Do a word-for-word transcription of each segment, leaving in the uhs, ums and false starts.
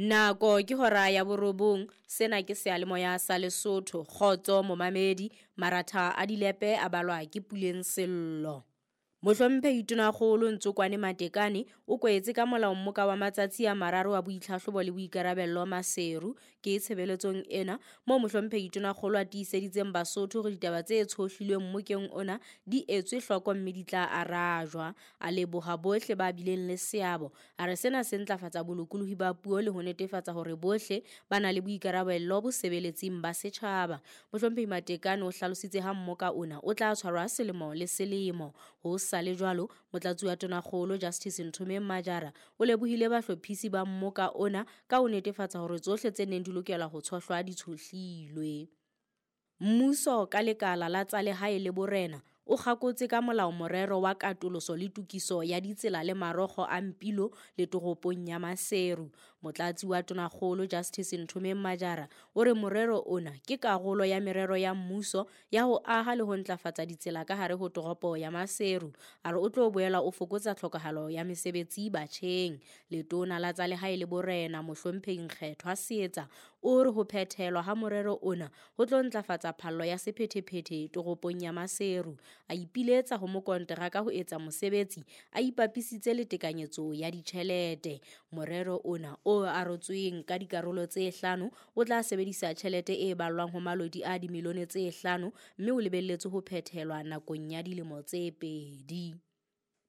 Nako ke hora ya borobong, sena ke seyalemoya sa Lesotho. Kgotso momamedi, maratha a dilepe a balwa ke Puleng Sello. Mohlomphehi Tonakgolo Ntsokwane Matekane o kwetse ka molao mmoka wa matsatsi a mararo wa boitlhahlobo le boikarabello Maseru. Ke tshebeletsong ena moo Mohlomphehi Tonakgolo a tiiseditseng Basotho hore ditaba tse tshohlilweng mmokeng ona di etswe hloko mme di tla arajwa. A leboha bohle ba bileng le seabo. A re sena se ntlafatsa bolokolohi ba puo le ho netefatsa hore bohle ba na le boikarabello bosebeletsing ba setjhaba. Mohlomphehi Matekane o hlalositse ha mmoka ona o tla tshwarwa selemo le selemo. Ho sa le jwalo, motlatsi wa Tonakgolo Justice Nthomeng Majara o lebohile bahlophisi ba mmoka ona ka ho netefatsa hore tsohle tse neng di lokela ho tshohlwa di tshohlilwe. Mmuso ka lekala la tsa lehae le borena o kgakotse ka molao morero wa katoloso le tokiso ya ditsela le marokgo a Mpilo le toropong ya Maseru. Motlatsi wa Tonakgolo Justice Nthomeng Majara o re morero ona ke karolo ya merero ya mmuso ya ho aha le ho ntlafatsa ditsela ka hare ho toropo ya Maseru. A re o tlo boela o fokotsa tlhokahalo ya mesebetsi batjheng. Letona la tsa lehae le borena Mohlomphehi Nkgethwa Seetsa o re ho phethelwa ha morero ona ho tlo ntlafatsa phallo ya sephethephethe toropong ya Maseru. A ipiletsa ho mokonteraka ho etsa mosebetsi a ipapisitse le tekanyetso ya ditjhelete. Morero ona o arotsweng ka dikarolo tse hlano o tla sebedisa tjhelete e ballwang ho malodi a dimilione tse hlano mme o lebelletswe ho phethelwa nakong ya dilemo tse pedi.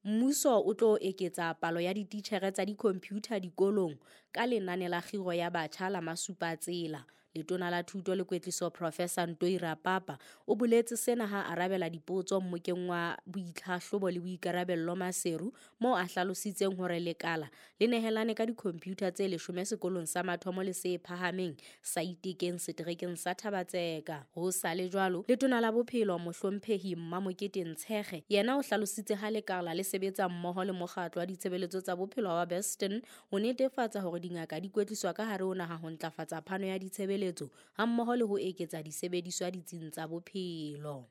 Mmuso o tlo eketsa palo ya dititjhere tsa di-computer dikolong ka lenane la kgiro ya batjha la Masupatsela. Letona la Thuto le Kwetliso Professor Ntoi Rapapa o boletse sena ha arabela dipotso mmokeng wa boitlhahlobo le boikarabello Maseru, moo a hlalositseng hore lekala le nehelane ka di-computer tse leshome sekolong sa mathomo le se phahameng sa Itekeng seterekeng sa Thabatseka. Ho sa le jwalo, Letona la Bophelo Mohlomphehi Mmamokete Ntshekge yena o hlalositse ha lekala le sebetsa mmoho le mokgatlo wa ditshebeletso tsa bophelo wa Beston ho netefatsa hore dingaka di kwetliswa ka hare ho naha ho ntlafatsa phano ya ditshebeletso hammoho le ho eketsa disebediswa ditsing tsa bophelo.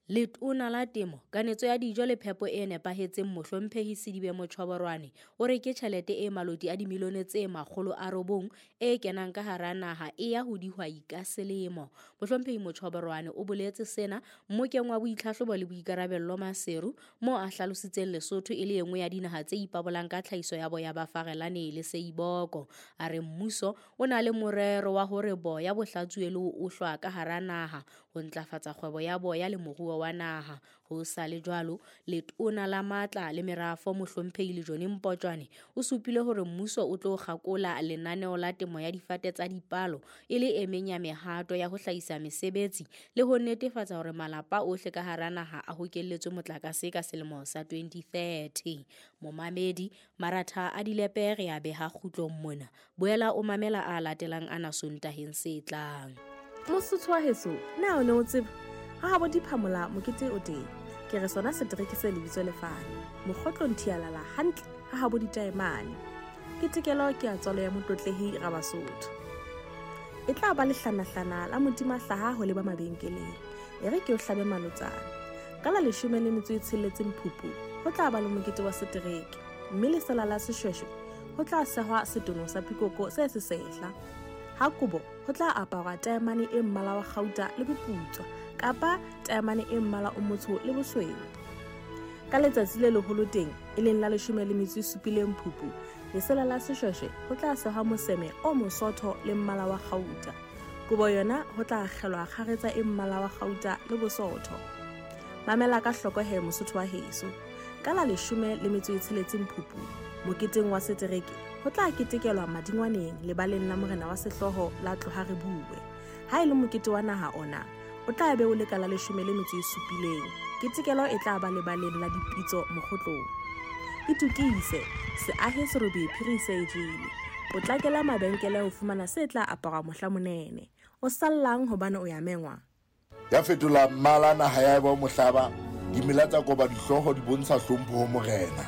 Letona la Temo, Kanetso ya Dijo le Phepo e Nepahetseng Mohlomphehi Sedibe Mochoborwane o re ke tjhelete e maloti a dimilione tse makgolo a robong e kenang ka hara naha e ya ho dihwai ka selemo. Mohlomphehi Mochoborwane o boletse sena mmokeng wa boitlhahlobo le boikarabello Maseru, moo a hlalositseng Lesotho e le e nngwe ya dinaha tse ipabolang ka tlhahiso ya boya ba farelane le seiboko. A re mmuso o na le morero wa hore boya bo hlatsuwe le ho ohlwa ka hara naha ho ntlafatsa kgwebo ya boya le moruo wa naha. Ho sa le jwalo, Letona la Matla le Merafo Mohlomphehi Lejone Mpotjwane o supile hore mmuso o tlo kgakola lenaneo la temo ya difate tsa dipalo e le e meng ya mehato ya ho hlahisa mesebetsi le ho netefatsa hore malapa ohle ka hara naha a hokelletswe motlakase ka selemo sa twenty thirty. Momamedi, maratha a dilepe re a beha kgutlong mona. Boela o mamela a latelang ana Sontaheng se tlang. Mosotho wa heso, na o ne o tseba ha bo diphamola mokete o teng? Ke re sona setereke se lebitso lefane mokgotlong thialala hantle ha ha bo ditaemane. Ke tekelo ke ya tswalo ya motlotlehi Rabasotho. E tla ba lehlanahlana la modima hlaha ho leba mabenkeleng. E re ke o hlabe malotsana. Ka la leshome le metso e tsheletseng Phupu ho tla ba le mokete wa setereke, mme lesela la seshweshwe ho tla sehwa setono sa pikoko se sesehla. Ha kobo ho tla aparwa taemane e mmala wa kgauta le boputswa kapa taemane e mmala o motsho le bosweu. Ka letsatsi le leholo teng e leng la leshome le metso e supileng Phupu, lesela la seshweshwe ho tla sehwa moseme o mosotho le mmala wa kgauta. Kobo yona ho tla akgelwa kgaretsa e mmala wa kgauta le bosotho. Mamela ka hloko he Mosotho wa heso. Ka la leshome le metso e tsheletseng Phupu, moketeng wa setereke ho tla ketekelwa madingwaneng lebaleng la morena wa sehlooho la Tloha Re Bue. Ha e le mokete wa naha ona o tla be o le ka la leshome le metso e supileng. Ketekelo e tla ba lebaleng la dipitso mokgotlong. Itukise, seahe serobe phiri se e jele. Potlakela mabenkele ho fumana se tla aparwa mohla monene. O sallang hobane o ya mengwa. Ya fetola mmala naha ya eba mohlaba, dimela tsa koba dihlooho di bontsha hlompho ho morena.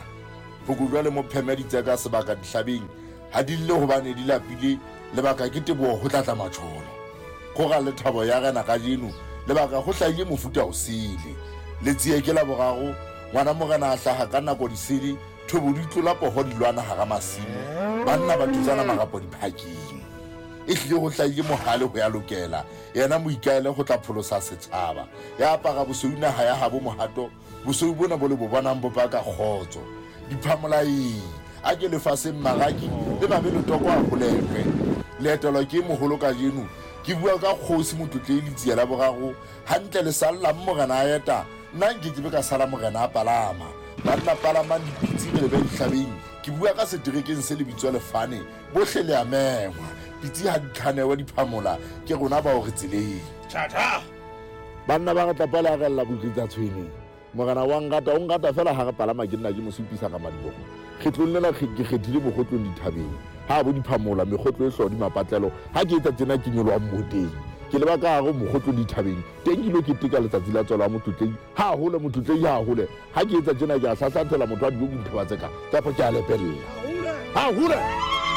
Phokojwa le mopheme di tseka sebaka dihlabeng, ha di lle hobane di lapile, lebaka ke teboho ho tlatla matjholo. Kgora le thabo ya rena kajeno, lebaka ho hlahile mofuta o sele. Letsie ke la boraro, ngwana morena a hlaha ka nako disele, thobo di tlola poho di lwana hara masimo. Banna ba thutsana marapo diphaking. E hlile ho hlahile mohale ho ya lokela. Yena moikaele go tla pholosa setjhaba. Ya apara bosweu naha ya habo mohato. Bosweu bona bo le bo bonang bo paka kgotso. Diphamolai a ke lefaseng maraki le mabe letoko a holekwe. Leetelo ke moholo kajeno. Ke bua ka kgosi Motlotlei Letsie la boraro. Hantle le sallang morena a eta. Nna nke ke be ka sala morena a palama. Banna palamang dipitsi re lebe dihlabeng. Ke bua ka seterekeng se lebitswa Lefane. Bohle le a mengwa. Pitsi ha di khanewe diphamola. Ke rona bao re tseleng. Tjha. Banna ba re tla pala rella botletsa tshwene. Morena wa ngata o ngata fela ha re palama ke nna ke mo supisa ka madiboho. Kgetlong lena ke kgethile mokgotlong dithabeng. Ha bo diphamola mekgotlo e hlodi mapatlelo. Ha ke etsa tsena ke nyoloha mmoteng. Ke leba ka hare mokgotlong dithabeng. Teng ke lo keteka letsatsi la tswalo ya Motlotlei. Ha hole Motlotlei ha hole. Ha ke etsa tsena ke a hlahlathela motho a dijo dithaba tse ka. Kapa ke a lepella. Ha hole.